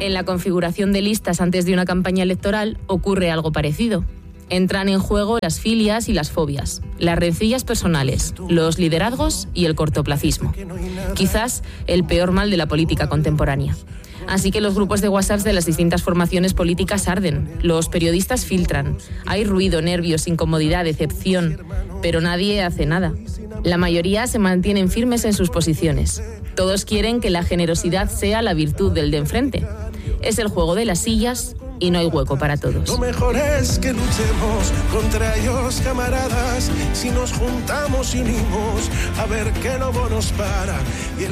En la configuración de listas antes de una campaña electoral ocurre algo parecido. Entran en juego las filias y las fobias, las rencillas personales, los liderazgos y el cortoplacismo. Quizás el peor mal de la política contemporánea. Así que los grupos de WhatsApp de las distintas formaciones políticas arden, los periodistas filtran, hay ruido, nervios, incomodidad, decepción, pero nadie hace nada. La mayoría se mantienen firmes en sus posiciones. Todos quieren que la generosidad sea la virtud del de enfrente. Es el juego de las sillas y no hay hueco para todos. Lo mejor es que luchemos contra ellos, camaradas, si nos juntamos y unimos, a ver qué lobo nos para.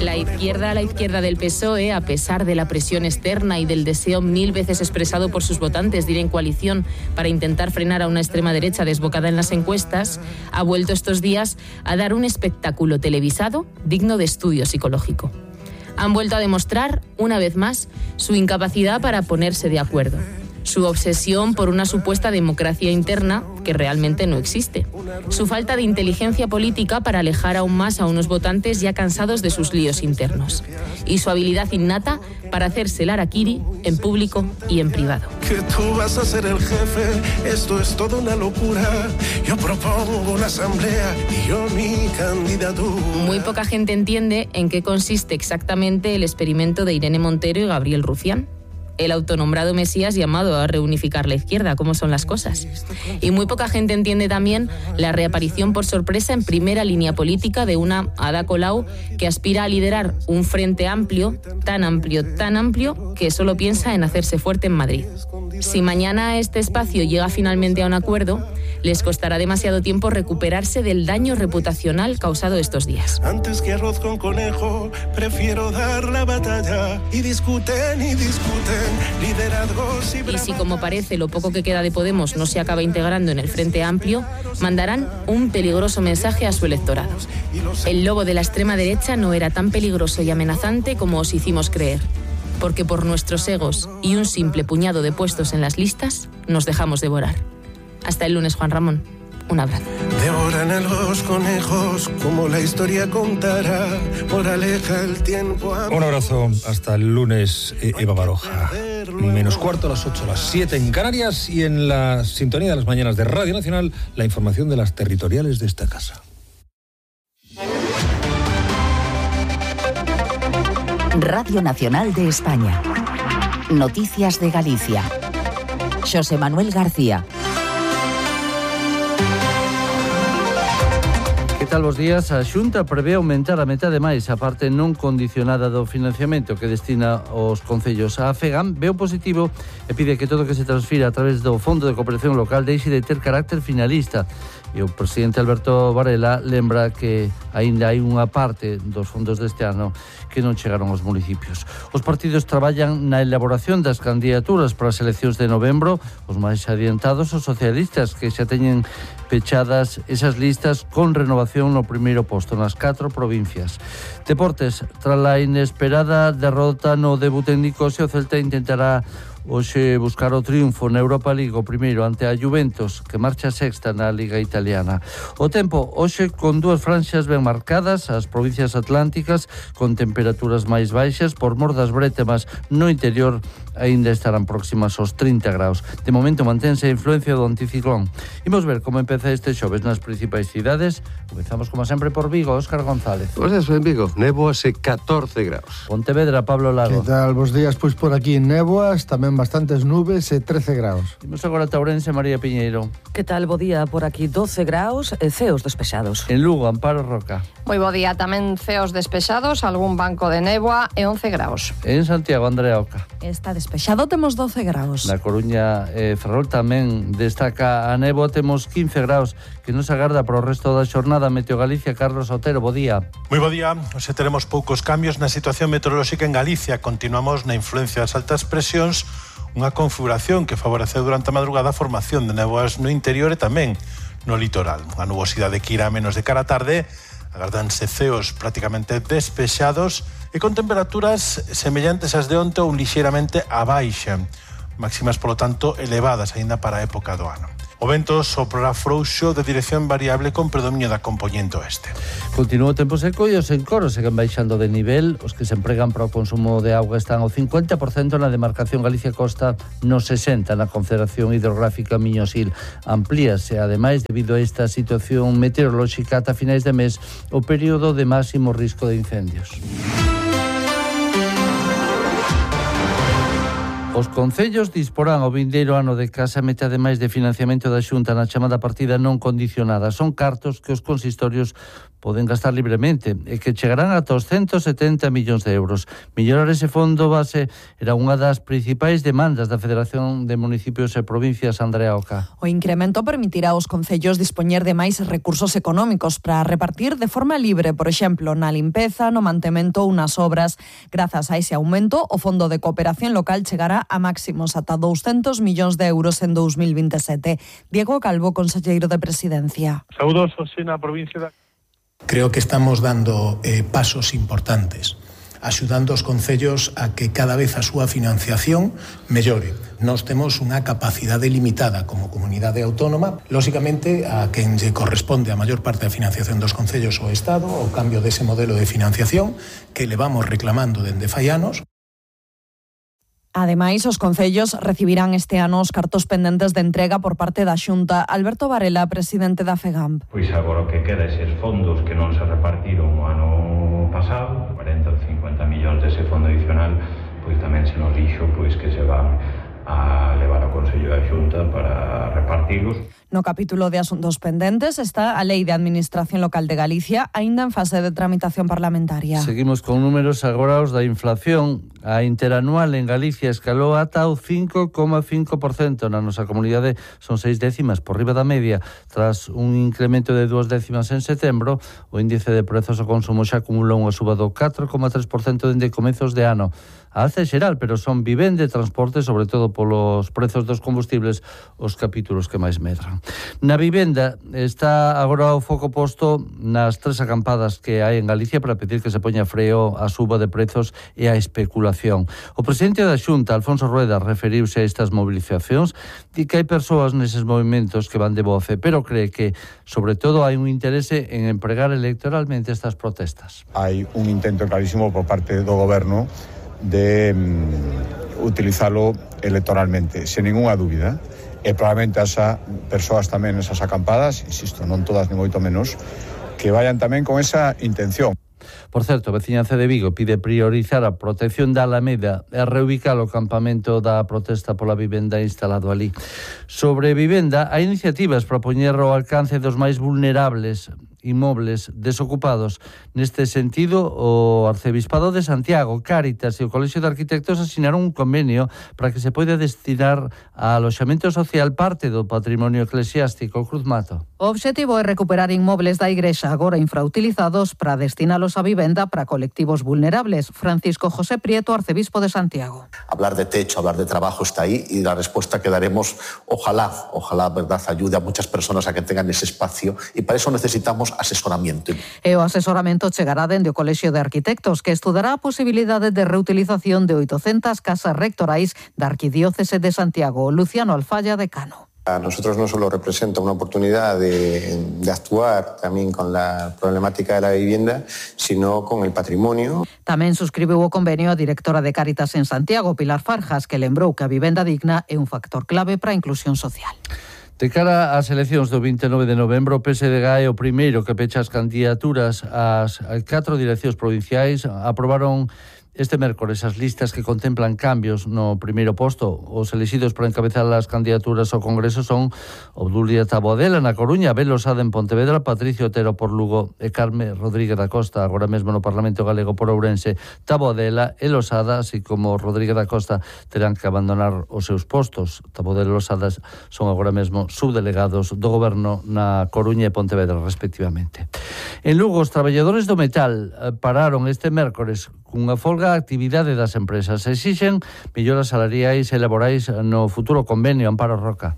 La izquierda del PSOE, a pesar de la presión externa y del deseo 1000 veces expresado por sus votantes de ir en coalición para intentar frenar a una extrema derecha desbocada en las encuestas, ha vuelto estos días a dar un espectáculo televisado digno de estudio psicológico. Han vuelto a demostrar, una vez más, su incapacidad para ponerse de acuerdo, su obsesión por una supuesta democracia interna que realmente no existe, su falta de inteligencia política para alejar aún más a unos votantes ya cansados de sus líos internos, y su habilidad innata para hacerse el harakiri en público y en privado. Que tú vas a ser el jefe, esto es toda una locura. Yo propongo una asamblea y yo mi candidatura. Muy poca gente entiende en qué consiste exactamente el experimento de Irene Montero y Gabriel Rufián, el autonombrado Mesías llamado a reunificar la izquierda, cómo son las cosas. Y muy poca gente entiende también la reaparición por sorpresa en primera línea política de una Ada Colau que aspira a liderar un frente amplio, tan amplio, que solo piensa en hacerse fuerte en Madrid. Si mañana este espacio llega finalmente a un acuerdo, les costará demasiado tiempo recuperarse del daño reputacional causado estos días. Antes que arroz con conejo, prefiero dar la batalla. Y discuten, liderazgos y si como parece lo poco que queda de Podemos no se acaba integrando en el Frente Amplio, mandarán un peligroso mensaje a su electorado. El lobo de la extrema derecha no era tan peligroso y amenazante como os hicimos creer, porque por nuestros egos y un simple puñado de puestos en las listas nos dejamos devorar. Hasta el lunes, Juan Ramón. Un abrazo. Devoran a los conejos como la historia contará. Moraleja el tiempo. Un abrazo. Hasta el lunes, Eva Baroja. Menos cuarto a las 8, a las 7 en Canarias y en la sintonía de las mañanas de Radio Nacional, la información de las territoriales de esta casa. Radio Nacional de España. Noticias de Galicia. Xosé Manuel García. Que tal, bos días? A Xunta prevé aumentar a metade máis a parte non condicionada do financiamento que destina os concellos. A FEGAM veo positivo e pide que todo que se transfira a través do Fondo de Cooperación Local deixe de ter carácter finalista. E o presidente Alberto Varela lembra que aínda hai unha parte dos fondos deste ano que non chegaron aos municipios. Os partidos traballan na elaboración das candidaturas para as eleccións de novembro. Os máis adiantados, os socialistas, que xa teñen pechadas esas listas con renovación no primeiro posto nas 4 provincias. Deportes, tras a inesperada derrota no debut técnico, o Celta intentará hoxe buscar o triunfo na Europa League, o primeiro ante a Juventus, que marcha sexta na Liga Italiana. O tempo, hoxe con dúas franxas ben marcadas, as provincias atlánticas con temperaturas máis baixas, por mor das brétemas no interior aínda estarán próximas aos 30 graus. De momento mantense a influencia do anticiclón. Imos ver como empeza este xoves nas principais cidades. Comezamos como sempre por Vigo, Óscar González. Bos días, en Vigo, néboas e 14 graus. Pontevedra, Pablo Lago. Que tal, bos días? Pois por aquí néboas, tamén bastantes nubes e 13 graus. Imos agora a Ourense, María Piñeiro. Que tal, bo día? Por aquí 12 graus e ceos despexados. En Lugo, Amparo Roca. Moi bo día, tamén ceos despexados, algún banco de néboa e 11 graus. En Santiago, Andrea Oca. Está despexado, temos 12 graus. Na Coruña, Ferrol tamén destaca a néboa, temos 15 graus, que nos agarda para o resto da xornada. Meteo Galicia, Carlos Otero, bo día. Moi bo día, hoxe teremos poucos cambios na situación meteorolóxica en Galicia. Continuamos na influencia das altas presións, unha configuración que favoreceu durante a madrugada a formación de néboas no interior e tamén no litoral. Unha nubosidade que irá menos de cara a tarde, agardanse ceos prácticamente despexados e con temperaturas semellantes ás de onte ou lixeiramente a baixa, máximas, polo tanto, elevadas aínda para a época do ano. O vento soprará frouxo de dirección variable con predominio da compoñente oeste. Continúa o tempo seco e os encoros seguen baixando de nivel. Os que se empregan para o consumo de auga están ao 50% na demarcación Galicia Costa, no 60% na Confederación Hidrográfica Miño-Sil. Amplíase, ademais, debido a esta situación meteorolóxica, ata finais de mes, o período de máximo risco de incendios. Os concellos disporán o vindeiro ano de casa metade máis de financiamento da Xunta na chamada partida non condicionada. Son cartos que os consistorios poden gastar libremente e que chegarán ata os 170 millóns de euros. Mellorar ese fondo base era unha das principais demandas da Federación de Municipios e Provincias, Andrea Oca. O incremento permitirá aos concellos dispoñer de máis recursos económicos para repartir de forma libre, por exemplo, na limpeza, no mantemento ou nas obras. Grazas a ese aumento, o Fondo de Cooperación Local chegará a máximos ata 200 millóns de euros en 2027. Diego Calvo, conselleiro de Presidencia. Saudosos na provincia da... Creo que estamos dando pasos importantes, axudando os concellos a que cada vez a súa financiación mellore. Nós temos unha capacidade limitada como comunidade autónoma. Lóxicamente, a quen lle corresponde a maior parte da financiación dos concellos o Estado, o cambio dese modelo de financiación que levamos reclamando dende fai anos. Ademais, os concellos recibirán este ano os cartos pendentes de entrega por parte da Xunta. Alberto Varela, presidente da FEGAMP. Pois agora o que queda eses fondos que non se repartiron o ano pasado, 40 ou 50 millóns dese fondo adicional, pois tamén se nos dixo pois que se van a levar ao Consello da Xunta para repartilos. No capítulo de asuntos pendentes está a Lei de Administración Local de Galicia, aínda en fase de tramitación parlamentaria. Seguimos con números agora os da inflación. A interanual en Galicia escalou ata o 5,5%. Na nosa comunidade son 6 décimas por riba da media. Tras un incremento de 2 décimas en setembro, o índice de prezos ao consumo xa acumula unha suba do 4,3% dende comezos de ano. A alza xeral, pero son vivenda e transporte, sobre todo polos prezos dos combustibles, os capítulos que máis medran. Na vivenda está agora o foco posto nas 3 acampadas que hai en Galicia para pedir que se poña freo á suba de prezos e á especulación. O presidente da Xunta, Alfonso Rueda, referiuse a estas movilizacións, di que hai persoas neses movimentos que van de boa fe, pero cree que, sobre todo, hai un interese en empregar electoralmente estas protestas. Hai un intento clarísimo por parte do goberno de utilizalo electoralmente, sen ninguna dúbida. E probablemente as persoas tamén nesas acampadas, insisto, non todas ni moito menos, que vayan tamén con esa intención. Por certo, a veciñanza de Vigo pide priorizar a protección da Alameda e reubicar o campamento da protesta pola vivenda instalado ali. Sobre vivenda, hai iniciativas para poñer ao alcance dos máis vulnerables inmobles desocupados. Neste sentido, o Arcebispado de Santiago, Cáritas e o Colexio de Arquitectos asinaron un convenio para que se poida destinar a aloxamento social parte do patrimonio eclesiástico. Cruz Mato. O obxectivo é recuperar inmobles da Igrexa agora infrautilizados para destinalos a vivenda para colectivos vulnerables. Francisco José Prieto, Arcebispo de Santiago. Hablar de techo, hablar de trabajo está ahí y la respuesta que daremos, ojalá, verdad, ayude a muchas personas a que tengan ese espacio y para eso necesitamos asesoramiento. E o asesoramento chegará dende o Colexio de Arquitectos, que estudará a posibilidade de reutilización de 800 casas rectorais da Arquidiócese de Santiago. Luciano Alfaya, decano. A nosotros no solo representa una oportunidad de actuar también con la problemática de la vivienda, sino con el patrimonio. Tamén suscribiu o convenio a directora de Cáritas en Santiago, Pilar Farjas, que lembrou que a vivenda digna é un factor clave para a inclusión social. De cara ás eleccións do 29 de novembro, o PSDG é o primeiro que pecha as candidaturas ás 4 direccións provinciais. Aprobaron este mércores as listas que contemplan cambios no primeiro posto. Os elixidos para encabezar as candidaturas ao Congreso son Obdulia Taboadela na Coruña, Abel Losada en Pontevedra, Patricio Otero por Lugo e Carme Rodríguez da Costa, agora mesmo no Parlamento Galego por Ourense. Taboadela e Losada, así como Rodríguez da Costa, terán que abandonar os seus postos. Taboadela e Losada son agora mesmo subdelegados do Goberno na Coruña e Pontevedra, respectivamente. En Lugo, os traballadores do metal pararon este mércores cunha folga a actividade das empresas. Exixen melloras salariais e laborais no futuro convenio. Amparo Roca.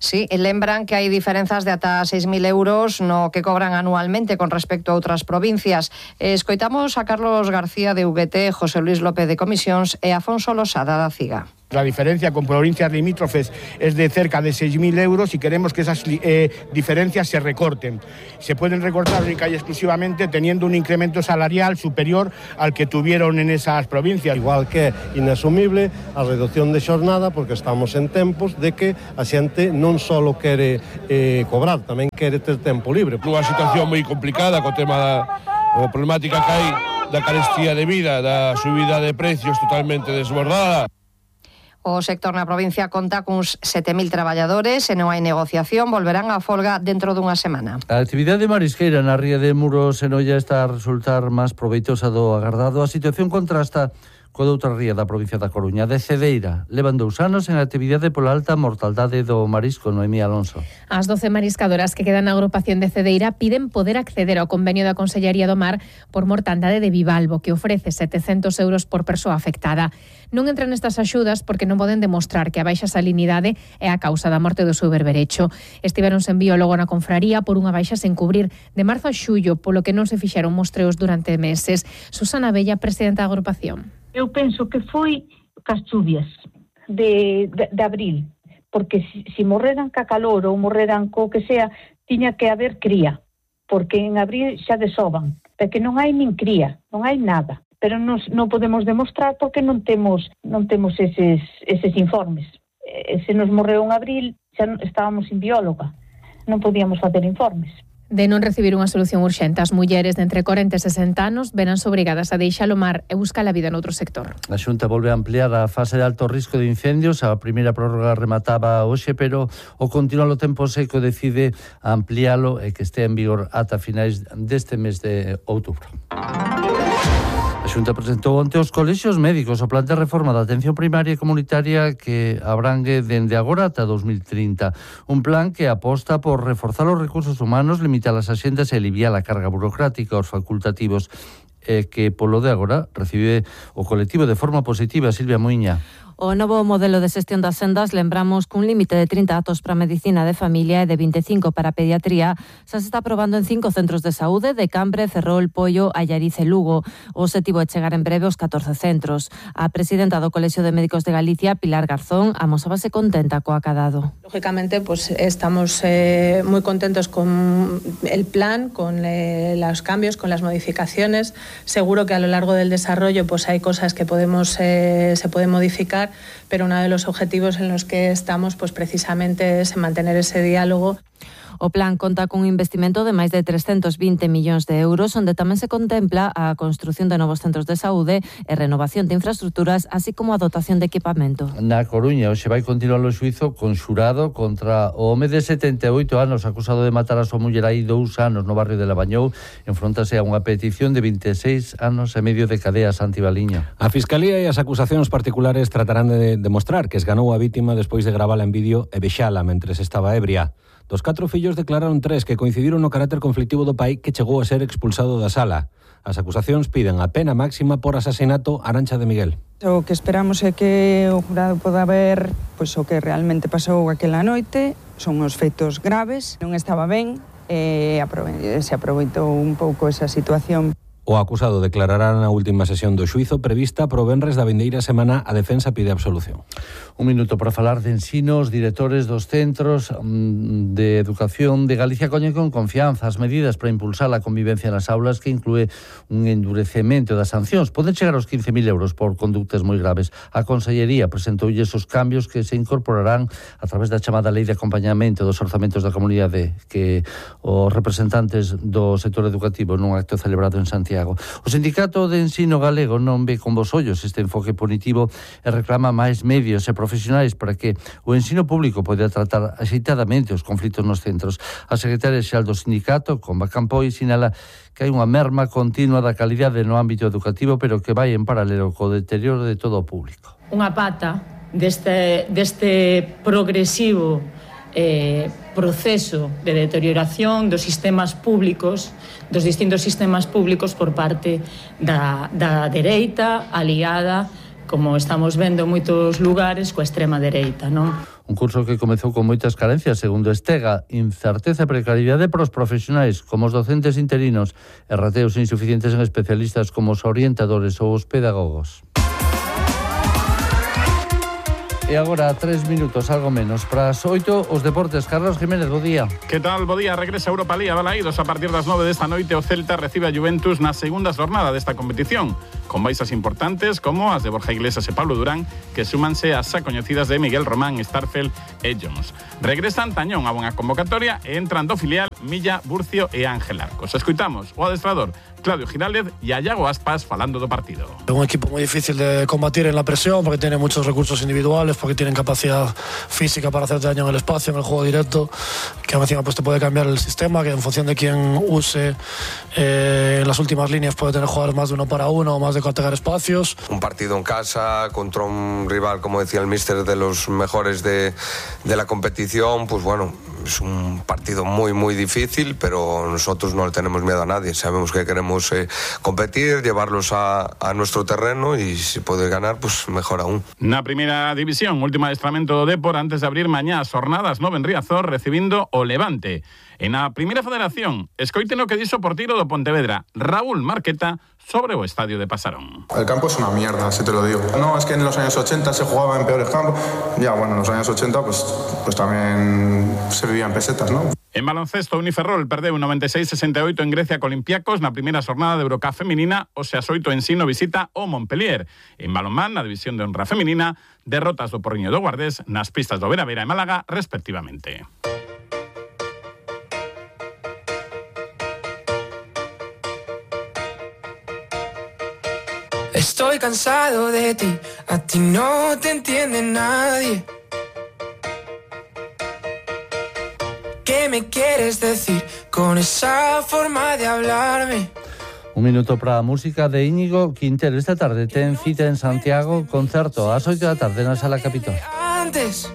Sí, lembran que hai diferenzas de ata 6.000 euros no que cobran anualmente con respecto a outras provincias. Escoitamos a Carlos García de UGT, José Luis López de Comisións e Afonso Losada da CIGA. La diferencia con provincias limítrofes es de cerca de 6.000 euros y queremos que esas diferencias se recorten. Se pueden recortar única y exclusivamente teniendo un incremento salarial superior al que tuvieron en esas provincias. Igual que é inasumible a reducción de xornada, porque estamos en tempos de que a xente non só quere cobrar, tamén quere ter tempo libre. Unha situación moi complicada co tema da problemática que hai da carestía de vida, da subida de precios totalmente desbordada. O sector na provincia conta cuns 7.000 traballadores e non hai negociación, volverán á folga dentro dunha semana. A actividade marisqueira na ría de Muros en Oia está a resultar máis proveitosa do agardado. A situación contrasta coa outra ría da provincia da Coruña, de Cedeira. Levan 2 anos en actividade pola alta mortaldade do marisco. Noemí Alonso. As 12 mariscadoras que quedan na agrupación de Cedeira piden poder acceder ao convenio da Consellería do Mar por mortandade de bivalvo, que ofrece 700 euros por persoa afectada. Non entran nestas axudas porque non poden demostrar que a baixa salinidade é a causa da morte do seu berberecho. Estiveronse en biólogo na confraría por unha baixa sen cubrir de marzo a xullo, polo que non se fixeron mostreos durante meses. Susana Bella, presidenta da agrupación. Eu penso que foi cas chuvias de abril, porque si morreran ca calor ou morreran co que sea, tiña que haber cría, porque en abril xa desoban, porque non hai nin cría, non hai nada, pero non podemos demostrar porque non temos eses informes. Se nos morreu en abril, xa estábamos sin bióloga, non podíamos facer informes. De non recibir unha solución urxente, as mulleres de entre 40 e 60 anos veránse obrigadas a deixar o mar e buscar a vida noutro sector. A Xunta volve a ampliar a fase de alto risco de incendios. A primeira prórroga remataba hoxe, pero o continuar o tempo seco decide ampliálo e que este en vigor ata finais deste mes de outubro. A Xunta presentou onte os colexios médicos o plan de reforma da atención primaria e comunitaria que abrangue dende agora ata 2030. Un plan que aposta por reforzar os recursos humanos, limitar as axendas e aliviar a carga burocrática aos facultativos, que polo de agora recibe o colectivo de forma positiva. Silvia Muiña. O novo modelo de xestión das sendas, lembramos cun límite de 30 datos para medicina de familia e de 25 para pediatría, xa se está aprobando en 5 centros de saúde de Cambre, Ferrol, Poio, Allariz e Lugo. O objetivo é chegar en breve aos 14 centros. A presidenta do Colexio de Médicos de Galicia, Pilar Garzón, amosábase contenta co acadado. Lógicamente, pues estamos muy contentos con el plan, con los cambios, con las modificaciones. Seguro que a lo largo del desarrollo pues hay cosas que se pueden modificar, pero uno de los objetivos en los que estamos pues precisamente es mantener ese diálogo. O plan conta cun investimento de máis de 320 millóns de euros, onde tamén se contempla a construción de novos centros de saúde e renovación de infraestructuras, así como a dotación de equipamento. Na Coruña, hoxe vai continuar o xuízo conxurado contra o home de 78 anos acusado de matar a súa muller hai 2 anos no barrio de Labañou. Enfróntase a unha petición de 26 anos e medio de cadea a Santibaliño. A Fiscalía e as acusacións particulares tratarán de demostrar que esganou a vítima despois de gravala en vídeo e vexala mentres estaba ebria. Dos 4 fillos declararon 3 que coincidiron no carácter conflictivo do pai que chegou a ser expulsado da sala. As acusacións piden a pena máxima por asasinato a Arancha de Miguel. O que esperamos é que o jurado poda ver pois, o que realmente pasou aquela noite. Son os feitos graves, non estaba ben e se aproveitou un pouco esa situación. O acusado declarará na última sesión do xuízo prevista pro venres da vindeira semana. A defensa pide absolución. Un minuto para falar de ensino. Os directores dos centros de educación de Galicia coñen con confianza as medidas para impulsar a convivencia nas aulas, que inclúe un endurecemento das sancións. Poden chegar aos 15.000 euros por conductas moi graves. A Consellería presentoulle esos cambios que se incorporarán a través da chamada Lei de Acompañamento dos Orzamentos da Comunidade, que os representantes do sector educativo nun acto celebrado en Santiago. O Sindicato de Ensino Galego non ve con bos ollos este enfoque punitivo e reclama máis medios e profesionais para que o ensino público poida tratar axeitadamente os conflitos nos centros. A secretaria xeral do sindicato, Comba Campoi, sinala que hai unha merma continua da calidade no ámbito educativo, pero que vai en paralelo co deterioro de todo o público. Unha pata deste progresivo proceso de deterioración dos sistemas públicos, dos distintos sistemas públicos por parte da dereita aliada, como estamos vendo en moitos lugares, coa extrema dereita, non? Un curso que comezou con moitas carencias, segundo Estega, incerteza e precariedade para os profesionais, como os docentes interinos, e rateos insuficientes en especialistas como os orientadores ou os pedagogos. E agora 3 minutos, algo menos. Para as 8, os deportes. Carlos Jiménez, bo día. Que tal, bo día? Regresa a Europa League a Balaídos a partir das 9 desta noite. O Celta recibe a Juventus na segunda jornada desta competición, con baixas importantes como as de Borja Iglesias e Pablo Durán, que súmanse ás xa coñecidas de Miguel Román, Starfelt e Jones. Regresan Tañón a unha convocatoria e entran do filial Milla, Burcio e Ángel Arcos. Escoitamos o adestrador Claudio Giraldez e a Iago Aspas falando do partido. Es un equipo muy difícil de combatir en la presión porque tiene muchos recursos individuales, porque tienen capacidad física para hacerte daño en el espacio, en el juego directo, que encima pues te puede cambiar el sistema, que en función de quién use en las últimas líneas puede tener jugadores más de 1 para 1 o más de atacar espacios. Un partido en casa contra un rival, como decía el míster, de los mejores de la competición, pues bueno, es un partido muy difícil, pero nosotros no le tenemos miedo a nadie. Sabemos que queremos competir, llevarlos a nuestro terreno y si puede ganar, pues mejor aún. Na primeira división, último adestramento do Depor antes de abrir mañá as jornadas 9 en Riazor, recibindo o Levante. En a primeira federación, escoiten o que dixo o porteiro do Pontevedra, Raúl Marqueta, sobre o estadio de Pasarón. El campo es una mierda, si te lo digo. No, es que en los años 80 se jugaba en peores campos. Ya, bueno, en los años 80 pues también se vivía en pesetas, ¿no? En baloncesto, Uniferrol perdeu 96-68 en Grecia co Olympiacos na primeira xornada de Eurocup feminina, o Seasoito Ensino visita o Montpellier. En balonmán, na división de honra feminina, derrotas do Porriño do Guardés nas pistas do Vera Vera e Málaga, respectivamente. Estoy cansado de ti, a ti no te entiende nadie. ¿Qué me quieres decir con esa forma de hablarme? Un minuto para a música de Íñigo Quintero. Esta tarde ten cita en Santiago, concerto ás 8 da tarde na Sala Capitol. Antes